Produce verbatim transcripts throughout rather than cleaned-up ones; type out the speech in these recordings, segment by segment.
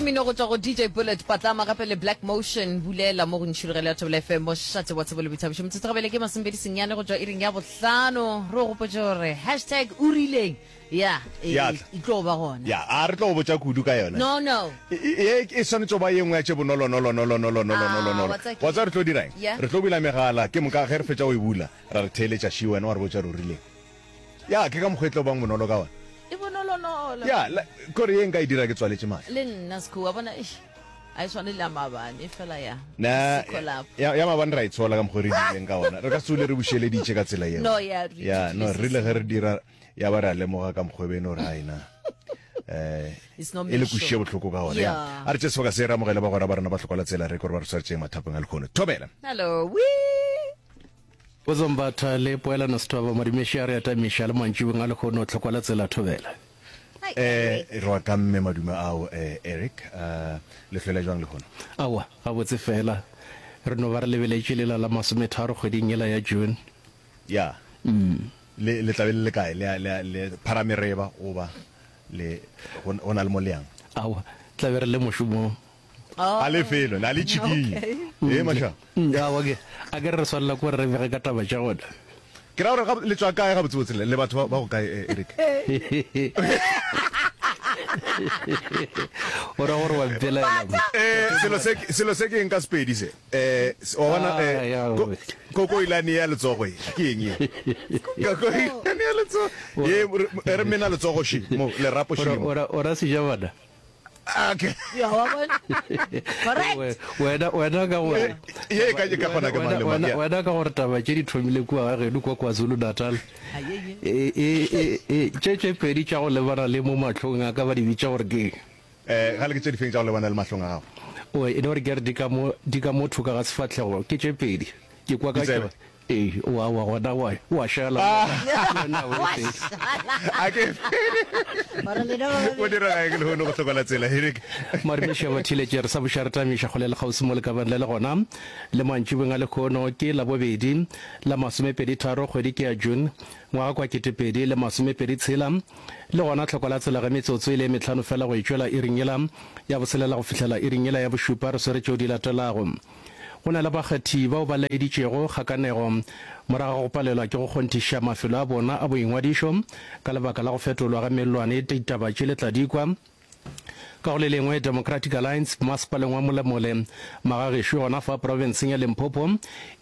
Ke mmino go tšwa go D J Bullet, Patlama gape le Black Motion, Bulela mo go Ntšhirogelo ya Thobela F M, mošate wa tsebo le boithabišo. Metsotso gabele ke masomepedi senyane go tšwa iring ya bohlano. Re go gopotše gore hashtag o rileng ya e, Ya tla. e tlo ba gona. Ya, a re tlo go botša kudu ka yona. No, no. E, e, e swanetše go ba ye nngwe ya tše bonolonolonolonolonolonolonolo. Ah, wa tseba ke- Wa tseba re tlo dira eng? Yeah. Re tlo bula megala, ke moka ge re fetša go e bula, ra re theeletša ši wena wa re botša re o rileng. Ya, ke ka mokgwa e tlo bang bonolo ka ona. E bonolonolo. Ya, la, kore ye nka e dira ke tswaletše mahlo. Le nna Sekhu, wa bona, eish, a e swane le ya maabane, fela ya. Na, Sekho lapho. ya, ya maabane ra e tshola ka mokgwa re dirileng ka ona. Re ka se tsole re bušeleditše ka tsela yeo. No, ya, re Ya, no, ithutile re rile se ge re dira, ya ba re a lemoga ka mokgwa e beno gore ai na. Eh, It's not e le make sure. kwešiše bohloko ka ona. Ya. Yeah. A re tše sebaka se re amogele bagwera ba rena ba hloka la tsela re kore ba re swaretšeng mathapeng a lekgono. Thobela. Hello, wee. Bozombatha le poelano sethoba madimeši a re atamiša le mantšibeng a lekgono tlhokwa la tsela thobela. Hi, Eh, Eric. re wa ka mme madume ao, eh, Eric, eh, le hlwele jwang lekgono? Aowa, gabotse fela. Re no ba re lebeletše lela la masometharo kgweding yela ya June. Ya. Le, le tla be le le kae? Le, le, le pharamereba goba le, go, go na le mo le yang? Aowa, tla be re le mošomong. Oh. A le felo, na le tšhikinye. Okay. Eh, maša. Mm, aowa, ke, a ke re re swanela ke gore re bege ka taba tša gona. Ke ra gore ga, le tšwa kae gabotsebotse le, le batho ba, ba go kae, eh, Eric? O ra gore wa mpelaela mo. Eh, selo se, selo se ke eng ka Sepedi se? Eh, wa bona, Ah, eh, ya, ko, kokoilane ya letsogo e, ke eng ye? Kokoilane ya letsogo. Ye, re, re mena letsogo še, mo, lerapo še mo. O ra, o ra sejabana? Okay. Ya, wa bona? Correct. Wena, wena ka gore Ye e ka, e ka kgona ke mang le mang, wena, ya. wena ka gore taba tše di thomile kua ga geno kua KwaZulu-Natal. Aye, ye. E, e, e, e, tše tše pedi tša go lebana le mo mahlong a ka ba di bitša gore ke eng? Eh, gale ke tše difeng tša go lebana le mahlong a gago? O, e no re ke re di ka mo, di ka mo thoka ga sefahlego, ke tše pedi. Ke kwa ka Ditsebe. tšona. Ee, wa, wa gona wa, wa šala. Wena o Wa e fedi. šala. A ke Gore lena ba O babedi. dira eng lehono go hlokola tsela, Eric? Madumeši a batheeletše re sa buša re tamiša kgole le kgauswi mo lekabeng le le gona le mantšibeng a lekhono ke Labobedi la masomepedi tharo kgwedi ke ya June ngwaga kwa ketepedi le masomepedi tshela le gona tlhoko la tsela ge metsotso e le e mehlano fela go e tšwela iring yela ya boselela go fihlela iring yela ya bošupa re swere tšeo di latelago. Go na le bakgethi bao ba laeditšego kgakanego morago ga go palelwa ke go kgonthiša mafelo a bona a boingwadišo ka lebaka la go fetolwa ga mellwane. Ditaba tše le tla di kwa ka go le lengwe. Democratic Alliance masepaleng wa Molemole Magagešo gona fa profenseng ya Limpopo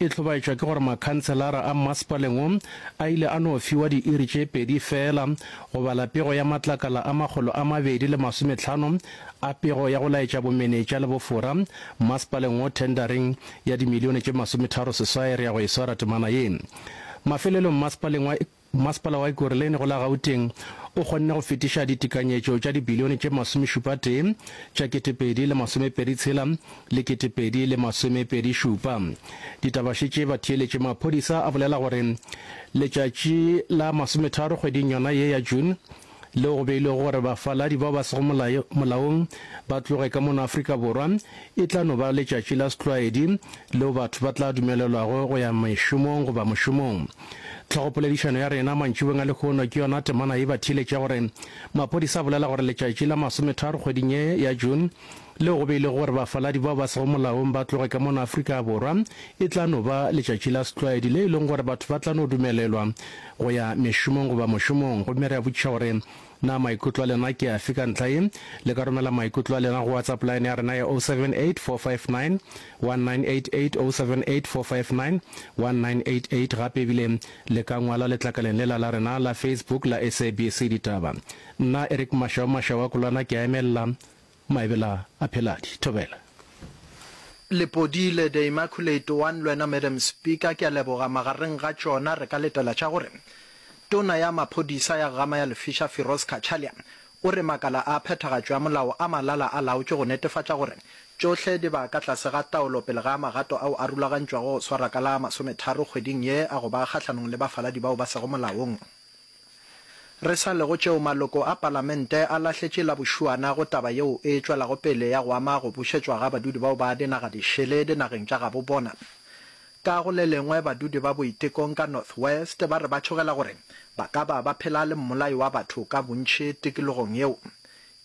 e hlobaetšwa ke gore makhanselara a masepaleng wo a ile a no fiwa diiri tše pedi fela go bala pego ya matlakala a makgolo a mabedi le masomehlano a pego ya go laetša bomenetša le bofora masepaleng wo tendering ya dimilione tše masometharo seswai re ya go e swara temana ye. Mafelelong masepaleng wa Masepala wa Ekurhuleni go la Gauteng o kgonne go fetiša ditekanyetšo tša dibilione tše masomešupa tee tša ketepedi le masomepedi tshela le ketepedi le masomepedi šupa. Ditaba še tše batheeletše maphodisa a bolela gore letšatši la masometharo kgweding yona ye ya June leo go beilwego gore bafaladi bao ba sego molaong ba tloge ka mono Afrika Borwa e tla no ba letšatši la setlwaedi leo batho ba tla dumelelwago go ya mešomong goba mošomong. Tlhogopoledišano ya rena mantšibeng a lehono ke yona temana ye batheeletša gore maphodisa a bolela gore letšatši la masometharo kgweding ye ya June leo go beilwego gore bafaladi bao ba sego molaong ba tloge ka mono Afrika Borwa e tla no ba letšatši la setlwaedi le e leng gore batho ba tla no dumelelwa go ya mešomong goba mošomong. Gomme re a botšiša gore na maikutlo a lena ke afe ka ntlha ye? Le ka romela maikutlo a lena go WhatsApp line ya rena ya oh seven eight four five nine one nine eight eight, oh seven eight four five nine one nine eight eight. Gape ebile le ka ngwala letlakaleng lela la rena la Facebook la S A B C Ditaba. Nna Eric Mashau Mashau wa Kolwana ke a emelela Maebela a Pheladi. Thobela. Lepodile, The Immaculate One, Lwena Madam Speaker, ke a leboga. Magareng ga tšona re ka letela tša gore Tona ya Maphodisa ya Gama ya Lefiša Firoz Cachalia o re makala a phethagatšo ya molao a malala a laotšwe go netefatša gore tšohle di ba ka tlase ga taolo pele ga magato ao a rulagantšwago go swara ka la masometharo kgweding ye a go ba kgahlanong le bafaladi bao ba sego molaong. Re sa le go tšeo maloko a palamente a lahletše la bošuana go taba yeo e tšwelago pele ya go ama go bušetšwa ga badudi bao ba dinaga dišele dinageng tša gabo bona. Ka go le lengwe badudi ba Boitekong ka North West ba re ba tšhogela gore ba ka ba ba phela le mmolai wa batho ka bontši tikologong yeo.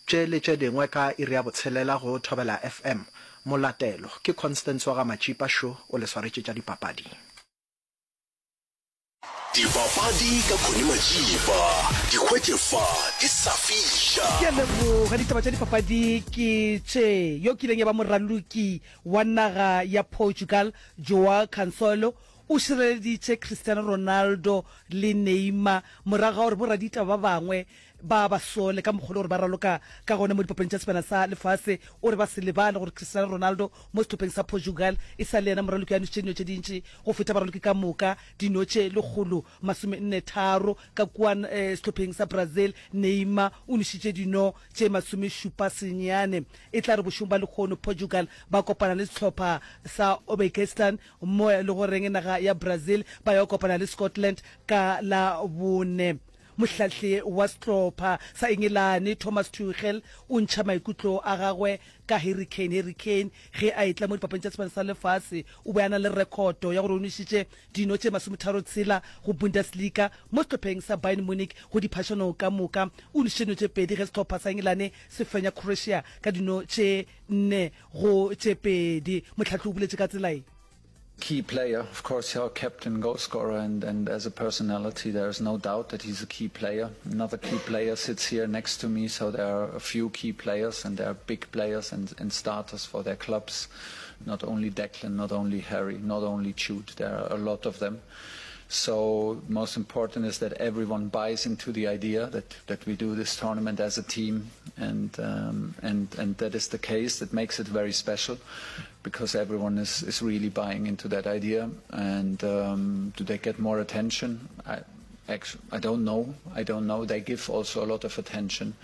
Tše le tše dingwe ka iri ya botshelela go Thobela F M. Molatelo ke Constance wa ga Matšipa šo o le swaretše tša dipapadi. Dipapadi ka Connie Matšipa, di hwetše fa di sa fiša. Ke a leboga. Ditaba tša dipapadi ke tše. Yo kileng ya ba moraloki wa naga ya Portugal, Joao Cancelo, o šireleditše Cristiano Ronaldo le Neymar morago ga gore boraditaba ba bangwe ba ba sole ka mokgwa le gore ba raloka ka gona mo dipapading tša Sebjana sa Lefase. O re ba se lebale gore Cristiano Ronaldo mo sehlopheng sa Portugal e sa le yena moraloki a nwešitše dino tše dintši go feta baraloki ka moka, dino tše lekgolo masome nne tharo. Ka kua sehlopheng sa Brazil, Neymar o nwešitše dino tše masome šupa senyane. E tla re bošegong ba lehono Portugal ba kopana le sehlopha sa Uzbekistan mo e le goreng naga ya Brazil ba ya go kopana le Scotland ka Labone. Mohlahli wa sehlopha sa Engelane, Thomas Tuchel, o ntšha maikutlo a gagwe ka Harry Kane. Harry Kane ge a etla mo dipapading tša Sebjana sa Lefase o be a na le rekhoto ya gore o nwešitše dino tše masometharo tshela go Bundesliga mo sehlopheng sa Bayern Munich go diphašano ka moka. O nwešitše dino tše pedi ge sehlopha sa Engelane se fenya Croatia ka dino tše nne go tše pedi. Mohlahli o boletše ka tsela ye. Key player, of course, our captain, goal scorer, and, and as a personality, there is no doubt that he's a key player. Another key player sits here next to me, so there are a few key players, and there are big players and, and starters for their clubs. Not only Declan, not only Harry, not only Jude, there are a lot of them. So most important is that everyone buys into the idea that, that we do this tournament as a team, and, um, and, and that is the case. That makes it very special, because everyone is, is really buying into that idea. And, um, do they get more attention? I, actually, I don't know. I don't know. They give also a lot of attention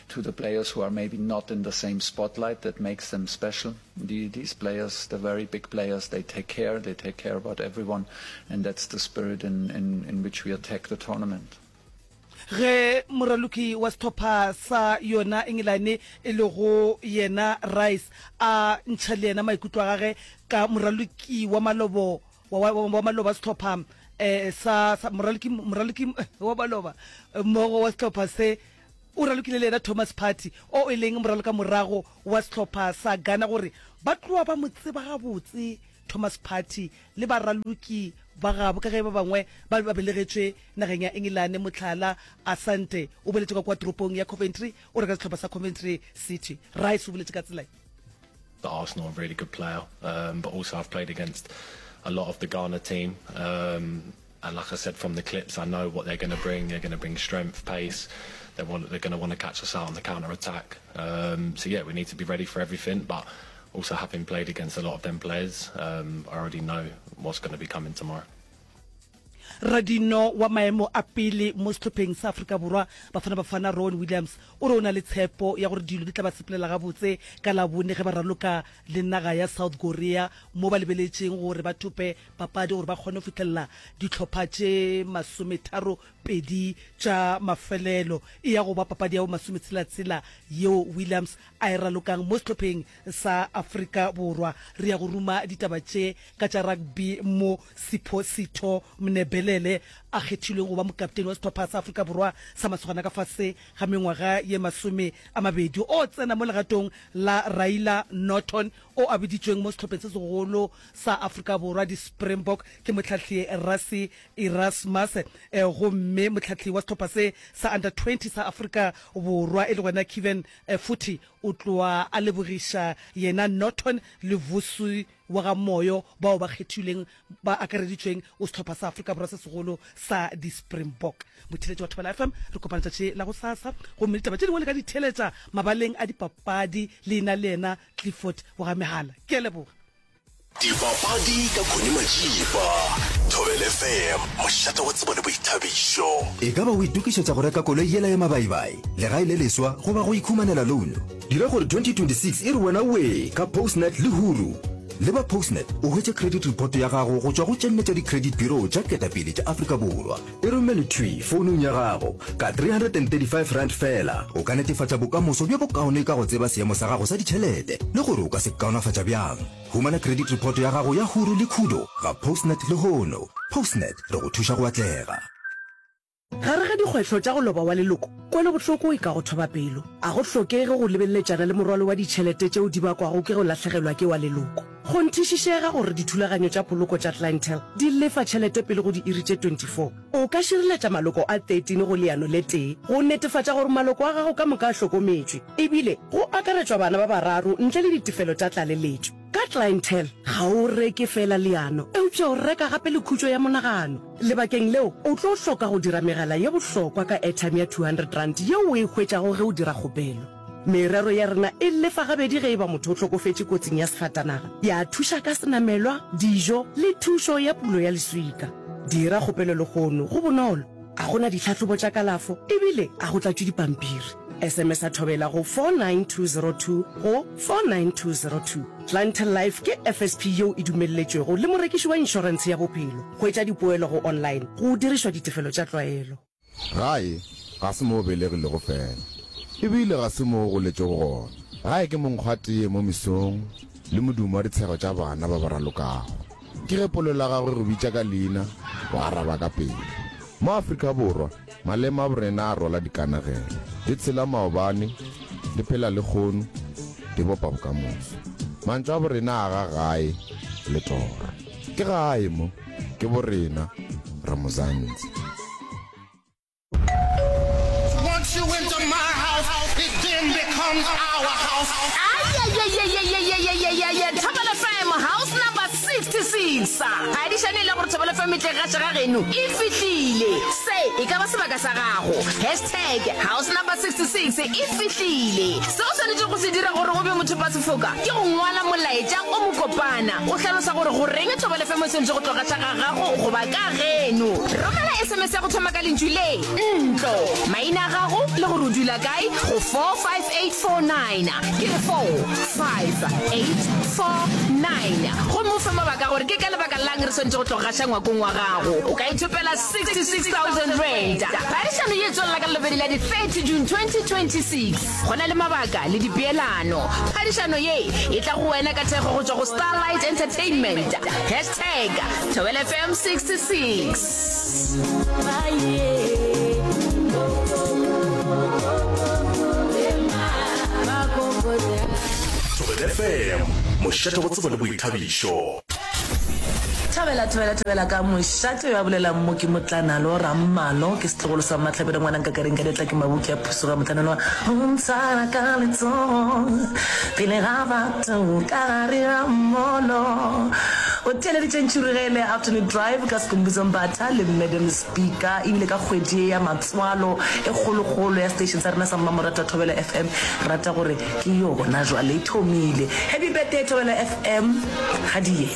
to the players who are maybe not in the same spotlight. That makes them special. The, these players, the very big players, they take care. They take care about everyone, and that's the spirit in, in, in which we attack the tournament. Ge moraloki wa sehlopha sa yona Engelane e lego yena Rice a ntšha le yena maikutlo a gage ka moraloki wa malobo wa, wa, wa maloba sehlopha, eh, sa, sa moraloki, moraloki wa maloba mmogo wa sehlopha se o ralokile le yena Thomas Partey o e leng moraloka morago wa sehlopha sa Ghana gore ba tloa ba mo tseba gabotse Thomas Partey le baraloki ba gabo ka ge ba bangwe ba ba belegetšwe nageng ya Engelane. Mohlala, Asante o boletše ka kua toropong ya Coventry, o reka sehlopha sa Coventry City. Rice o boletše ka tsela ye. The Arsenal, a really good player, um, but also I've played against a lot of the Ghana team, um, and like I said from the clips, I know what they're gonna bring. They're gonna bring strength, pace. They want, they're gonna wanna catch us out on the counter attack. Um, so yeah, we need to be ready for everything, but also having played against a lot of them players, um, I already know what's gonna be coming tomorrow. Radino wa maemo a pele mo sehlopheng sa Afrika Borwa Bafana Bafana Ronwen Williams o re o na le tshepo ya gore dilo di tla ba sepelela gabotse ka Labone ge ba raloka le naga ya South Korea mo ba lebeletšeng gore ba thope papadi gore ba kgone go fihlelela dihlopha tše masometharo pedi tša mafelelo. E ya go ba papadi ya bo masometshela-tshela yeo Williams a e ralokang mo sehlopheng sa Afrika Borwa. Re ya go ruma ditaba tše ka tša rugby mo Sipho Sitho Mnebelele a kgethilweng go ba mokapteni wa sehlopha sa Afrika Borwa sa masogana ka fase ga mengwaga ye masome a mabedi. O tsena mo legatong la Raila Norton o a biditšweng mo sehlopheng se segolo sa Afrika Borwa di-Springbok ke mohlahli Rassie Erasmus, gomme mohlahli wa sehlopha se sa under twenty sa Afrika Borwa e le gona Kevin Futhi o tloa a lebogiša yena Norton le Vusi wa ga Moyo bao ba kgethilweng ba akareditšweng go sehlopha sa Afrika Borwa se segolo sa di-Springbok. Motheeletši wa Thobela F M, re kopana tšatši la gosasa gomme ditaba tše dingwe le ka di theeletša mabaleng a dipapadi le ena le yena Clifford wa ga Mehala. Ke a leboga. Dipapadi ka Connie Majiba, Thobela F M, mošate wa tsebo le boithabišo. E ka ba o itokišetša go reka koloi yela ya mabaibai, legae le leswa goba go ikhumanela loan? Dira gore twenty twenty-six e re wena wee ka Postnet le Huru. Leba Postnet o hwetše credit report ya gago go tšwa go tše nne tša di-credit bureau tša ketapele tša Afrika Borwa. E romele thwi founung ya gago ka three hundred and thirty-five rand feela. O ka netefatša bokamoso bjo bokaone ka go tseba seemo sa gago sa ditšhelete le gore o ka se kaonafatša bjang. Humana credit report ya gago ya Huru le Khudo ga Postnet lehono. Postnet, re go thuša go atlega. Gare ga dikgwetlho tša go loba wa leloko, kwelobohloko e ka go thoba pelo. A go hlokege go lebeletšana le morwalo wa ditšhelete tšeo di bakwago ke go lahlegelwa ke wa leloko. Kgonthišišega gore dithulaganyo tša poloko tša Clientele di lefa tšhelete pele go diiri tše twenty four. O ka šireletša maloko a thirteen go leano le tee go netefatša gore maloko a gago ka moka a hlokometšwe, ebile go akaretšwa bana ba bararo ntle le ditefelo tša tlaleletšo. Ka Clientele, ga o reke feela leano, eupša o reka gape le khutšo ya monagano. Lebakeng leo, o tlo hloka go dira megala ye bohlokwa ka airtime ya two hundred rand yeo o e hwetšago ge o dira kgopelo. Merero ya rena e lefa gabedi ge e ba motho o hlokofetše kotsing ya sefatanaga, ya thuša ka senamelwa, dijo le thušo ya pulo ya leswika. Dira kgopelo lehono, go bonolo, ga go na ditlhahlobo tša kalafo e bile ga go tlatšwe dipampiri. S M S-a Thobela go four nine two zero two go four nine two zero two. Clientele Life ke F S P yeo e dumelletšwego le morekiši wa inšorentshe ya bophelo. Hwetša dipoelo go online go dirišwa ditefelo tša tlwaelo. Gae ga se mo o belegilego fela, e bile ga se mo o goletšego gona. Gae ke monkgo wa teye mo mesong le modumo wa ditshego tša bana ba ba ralokago. Ke ge polelo ya gagwe e go bitša ka leina, o araba ka pela. Mo Afrika Borwa, maleme a borena a rwala dikanegelo. Di tshela maobane, di phela lehono, di bopa bokamoso. Mantšu a borena a aga gae le toro. Ke gae mo, ke borena, re Mzansi. Once you enter my house, it then becomes our house. Ayayayayayayayayaya Thobela F M house number sixty six. Phadišano e le gore Thobela F M e tle gaša ga geno e fihlile. Se e ka ba sebaka sa gago. Hashtag house number sixty six e fihlile. Se o swanetšego go se dira gore o be mothopasefoka ke go ngwala molaetša o mokopana o hlalosa gore goreng Thobela F M e swanetše go tlo gaša ga gago goba ka geno. Romela S M S ya go thoma ka lentšu le ntlo, maina a gago le gore o dula kae go four five eight four nine, ke re four five eight four nine, gomme o fe mabaka gore ke ka lebaka lang re swanetše go tlo gaša ngwakong wa gago. O ka ithopela sixty six thousand rand. Phadišano ye e tswelela ka Labobedi la di thirty June twenty twenty six. Go na le mabaka le dipeelano. Phadišano ye e tla go wena ka thekgo go tšwa go Starlight Entertainment. Hashtag Thobela F M sixty six. Thobela F M, mošate wa tsebo le boithabišo. Thobela, thobela, thobela ka mošate yo a bolelang mo ke Motlanalo Rammalo, ke setlogolo sa Mmahlabelo ngwana nkakareng ka diatla ke mabuki a phusoga motlanelo wa o ntshwara ka letsogo pele ga batho ka gare ga mmolo. O theeleditše Ntšhirugele Afternoon Drive ka Skhumbuzo Mbatha le Madam Speaker ebile ka kgwedi ye ya matswalo e kgolokgolo ya station sa rena sa mmamoratwa Thobela F M re rata gore ke yona jwale e thomile. Happy birthday Thobela F M ga di ye.